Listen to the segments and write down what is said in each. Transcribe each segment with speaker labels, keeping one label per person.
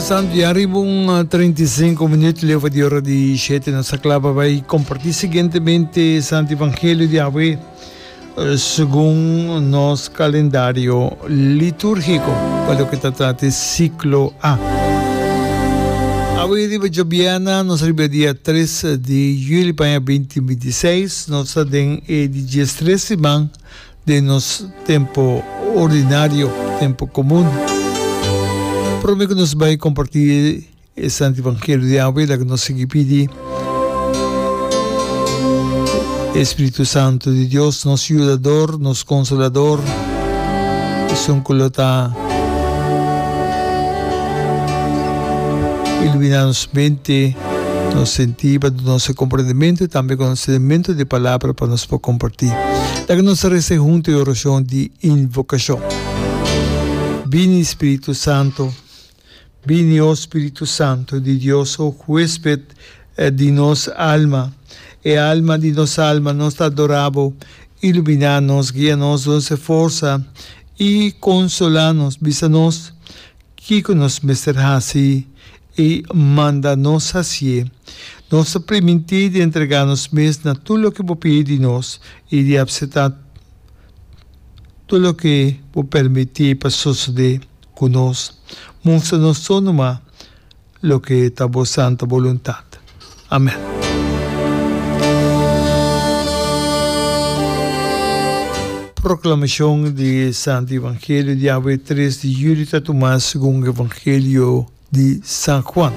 Speaker 1: Santo ya riba un 35 minuut leu di ora di 7 nos a kla pa bai kompartí siguientemente Santo Evangelio di awe segun nos kalendario litúrgiko pa loke ta trata e siklo A. Awe riba djobièrnè nos riba e dia 3 di juli pa aña 2026 nos ta den e di diestres siman den nos tempo ordinario, tempo comun. Prome cu nos bay comparti e Santo Evangelio di awe, laga nos sigui pidi e Spiritu Santo di Dios, nos Yudador, nos Consolador, esun cu lo ta ilumina nos mente, nos sentí, pa duna nos e comprendimento y tambe conocimiento di e Palabra pa nos por compartí. Laga nos resa hunto e orashon di invokashon. Bini, Spiritu Santo, bini, o Spiritu Santo di Dios, o huesped di nos alma, e alma di nos alma, nos ta adorá Bo, iluminá nos, guia nos, duna nos e forsa i konsolá nos, bisa nos Kiko nos mester hasi i manda nos hasié? Nos ta primintí di entregá nos mes na tur loke bo pidi di nos i di apseptá tur loke bo permití pa sosodé ku nos. Mustra nos so numa loke ta bo santa boluntat. Amèn. Proklamashon di e Santu Evangelio di awe tres di yüli ta tumá segun Evangelio di San Juan.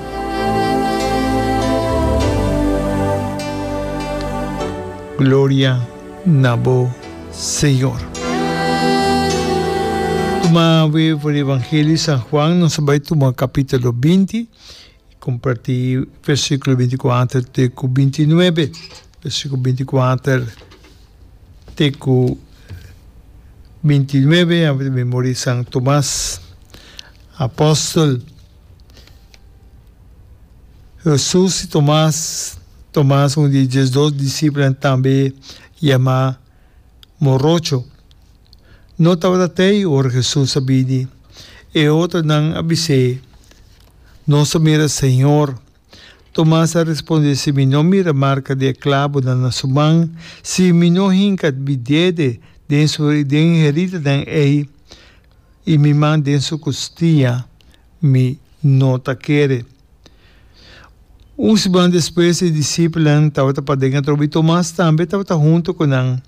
Speaker 1: Gloria na bo, Señor. Tuma awe for di Evangelio di San Juan, nos a bai tuma capítulo 20, comparti versículo 24 te cu 29. Versículo 24 te cu 29, awe memoria di San Tomas, apóstol. Hesus i Tomas, Tomas, un di e diesdos disipelnan, tambe yamá Morocho, no tabata t'ei ora Hesus a bini. E otronan a bis'é, Nos a mira Señor. Tomas a respondé, Si mi no mira marka di e klabunan na su man, si mi no hinka mi dede den su den e heridanan ei i mi man den su kustia, Mi no ta kere. Un siman despues e disipelnan tabata paden atrobe i Tomas tambe tabata huntu ku nan.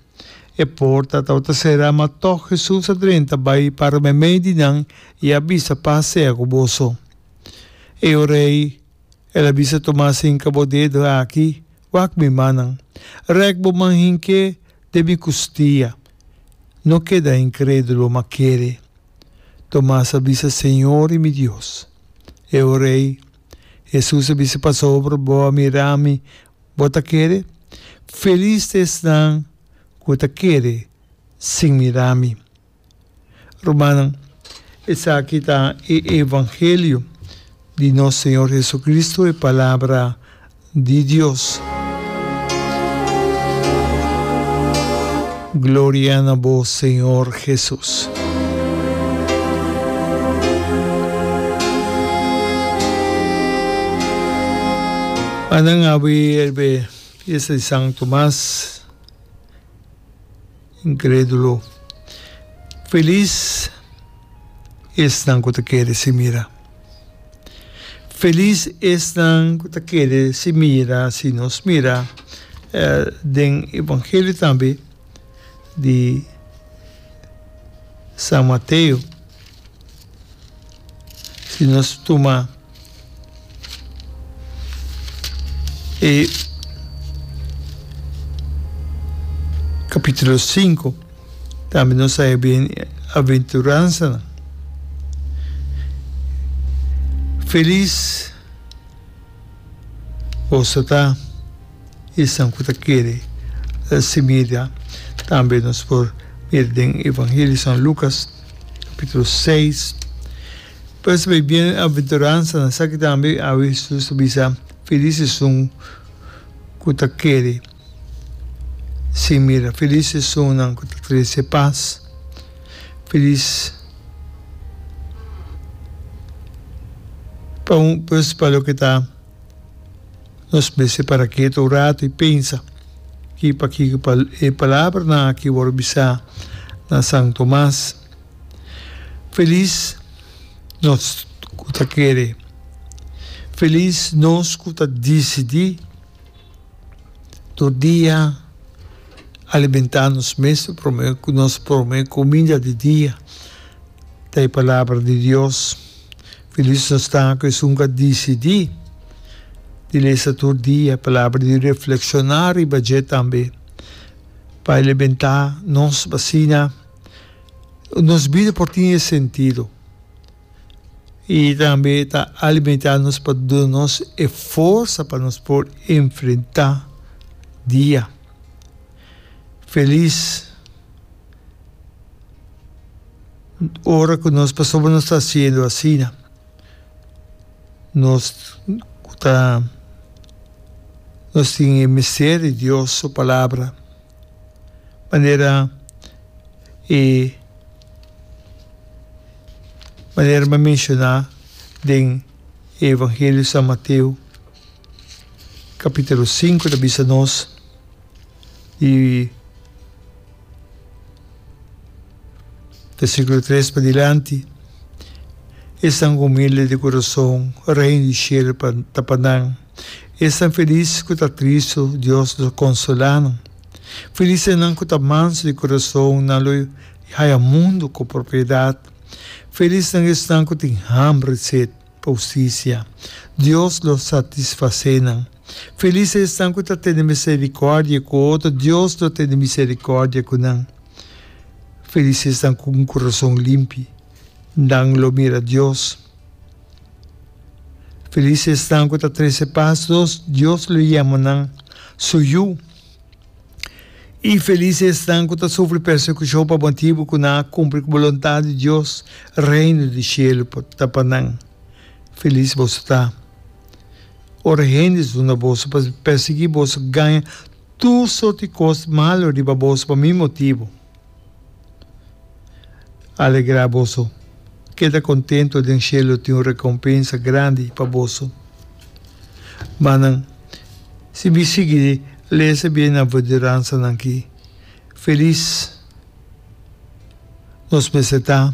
Speaker 1: E porta tabata será, ma tòg Hesus a drenta bai para meimei di nan i a bisa, Pas sea ku boso. E ora ei el a bisa Tomas, Hinka bo dedo aki, wak mi mannan. Rèk bo man hink'é den mi kustia. No keda inkrédulo, ma kere. Tomas a bisa, Señor i mi Dios. E ora ei, Hesus a bisa, Pasobra bo a mira mi, bo ta kere? Felis ta esnan ku ta kere sin mira mi. Rumannan, esaki ta e evangelio di nos Señor Jesucristo, e palabra di Dios. Gloria na bo Señor Jesus. Anan awe elbe fiesta di San Tomas incredulo. Feliz esnan cu ta kere si mira. Felis esnan ku ta kere si mira, si nos mira den Evangelio tambe di San Mateo, si nos tuma e kapitulo sinku. Tambe nos a e bienaventuransanan. Felis boso ta esnan ku ta kere si mira. Tambe nos por mira den Evangelio di San Lukas kapitulo seis. Pues e bienaventuransanan esaki tambe awe Hesus ta bisa, Felis esun ku ta kere. Sí, mira, felis esunnan ku ta trese pas, felis Pa un pues pa loke ta nos mester para ketu un rato y pensa ki pakiko pa e palabranan aki wòrdu bisá na San Tomas. Felis nos ku ta kere. Felis nos ku ta disidí tur dia alimentá nos mes promé ku nos promé kuminda di dia ta e palabra di Dios. Felis nos ta ku esun ku a disidí di lesa tur dia e palabra di reflekshoná riba dje tambe pa alimentá nos asina nos bida por tin e sentido i tambe ta alimentá nos pa duna nos e forsa pa nos por enfrentá dia. Felis ora ku nos pasobra nos ta hasiendo asina nos ku ta nos tin e mester di Dios su palabra manera e manera mi a menshoná den e evangelio di San Mateo kapítulo sinku ta bisa nos di Versíkulo tres padilanti, Esnan humilde di kurason, Reino di shelu pa ta pa nan. Esnan felis ku ta tristu, Dios lo konsolá nan. Felis esnan ku ta mansu di kurason, nan lo haya mundu ku propiedat. Felis nan esnan ku tin hamber i set. pa hustisia. Dios lo satisfasé nan. Felis esnan ku ta tene miserikòrdia ku otro, Dios lo tene miserikòrdia ku nan. Felis esnan ku un kurason limpi, nan lo mira Dios. Felis esnan ku ta trese pas, Dios lo yama nan su yu. I felis esnan ku ta sufri persekushon pa motibu ku nan a kumpli ku boluntat di Dios, Reino di shelu ta pa nan. Felis boso ta ora hende duna boso pa persiguí boso, gaña tur sorti kos malu riba boso pa mi motibu. Alegrá boso, keda kontentu, den shelu tin un rekompensa grandi pa boso. Manan, si mi sigui lesa bienaventuransanan ki, felis nos mester ta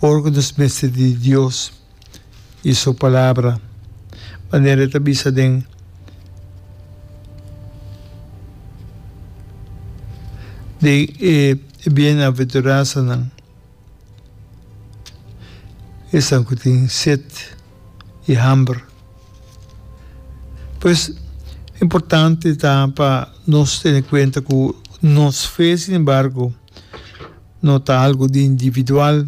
Speaker 1: ora ku nos mester di Dios. i su Palabra, manera e ta bisa den den e bienaventuransanan, esnan ku tin set i hamber. Pues, importante ta pa nos tene kuenta ku nos fe, sin embargo, no ta algu di individual.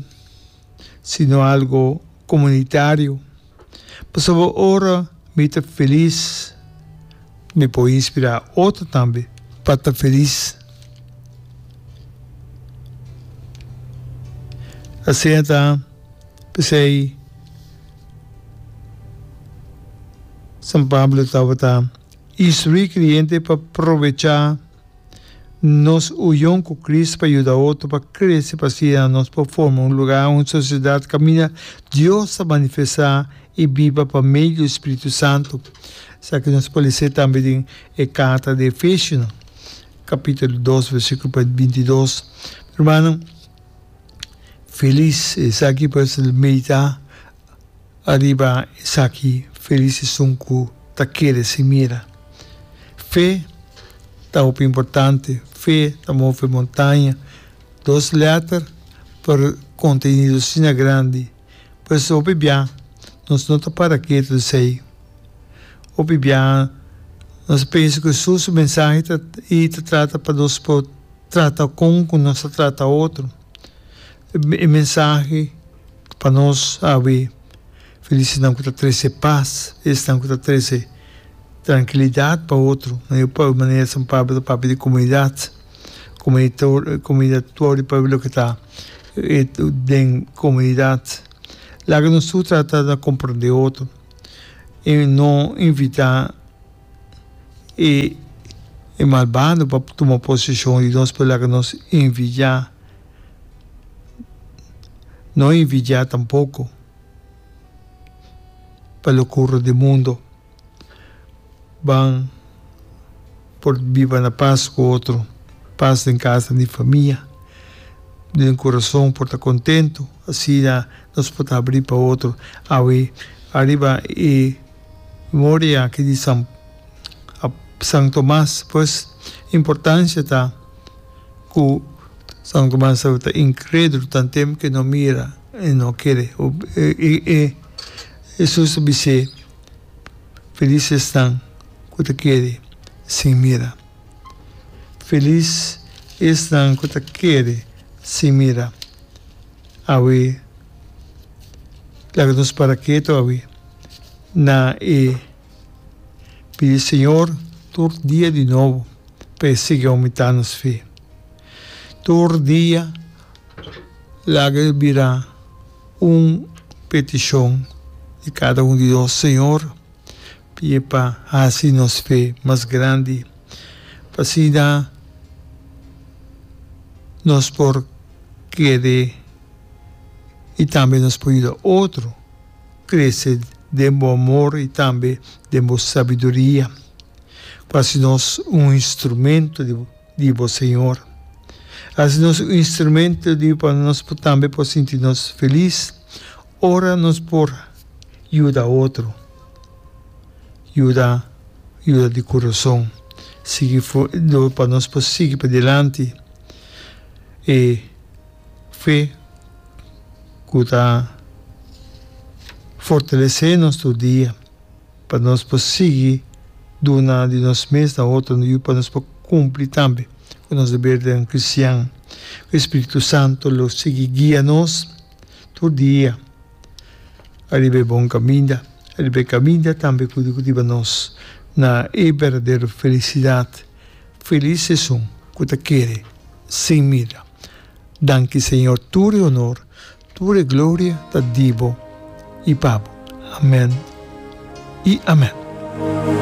Speaker 1: sino algo comunitario. Pasobra ora mi ta feliz, mi por inspira otro tambe pa ta feliz. Asina ta, p'esei San Pablo tabata instrui creyente pa probecha. Nos union ku Cristo pa yuda otro pa krese pa asina nos por forma un lugá, un sosiedat kaminda Dios ta manifestá i biba pa medio di Spiritu Santu. Esaki nos por lese tambe den e karta di Efesionan, kapítulo dos, versíkulo 22. Hermano, felis esaki pues meditá Ariba esaki felis esun ku ta kere sin mira. Fe ta hopi importante, fe ta move montaña. Dos lèter por kontenido asina grandi. Pues hopi bia nos no ta para ketu esei. Hopi bia nos ta pensa ku Hesus su mensahe ta i ta trata pa nos por trata kon ku nos ta trata otro. E mensahe. Pa nos awe, felis esnan ku ta trese pas, esnan ku ta trese trankilidat pa otro. Pa manera San Pablo ta papia di komunidat, komunidat tur di pueblo ku ta den komunidat. Laga nos tur trata na komprende otro i no invitá e malbado pa tuma posishon di nos, pero laga nos envidiá. No envidiá tampoko. Pa lokura di mundo. Ban por biba na pas ku otro, pas den kasa di famia, den kurason por ta kontentu, asina nos por ta habrí pa otro. Awe ariba e memoria aki di San San Tomas, pues importansia ta ku San Tomas tabata inkrédulo tan tempu ke no mira i no kere. E Hesus a bis'é. Felis esnan ku ta kere sin mira. Felis esnan ku ta kere sin mira. Awe, laga nos para ketu awe na e pidi Señor tur dia di nobo pa e sigui oumentá nos fe. Tur dia laga e bira. Un petishon di kada un di nos, Señor, pidi pa hasi nos fe mas grandi, pa asina nos por kere i tambe nos por yuda otro krese den bo amor i tambe den bo sabiduria, ku hasi nos un instrumento di bo. Di bo, Señor. Hasi nos un instrumento di pa nos por tambe por sinti nos felis ora nos por yuda otro. Yuda, yuda di kurason. Sigui pa nos por sigui padilanti e fe ku ta fortalesé nos tur dia. Pa nos por sigui duna di nos mes na otro i pa nos por cumpli tambe cu nos debernan cristian. Cu e Spiritu Santo lo sigui guia nos tur dia ariba e bon caminda, ariba e caminda tambe cu ta hiba nos na e berdadero felicidad. Feliz esun cu ta kere sin mira. Danki Señor tur e honor. Tur e gloria ta di bo i pa bo. Amen i amen.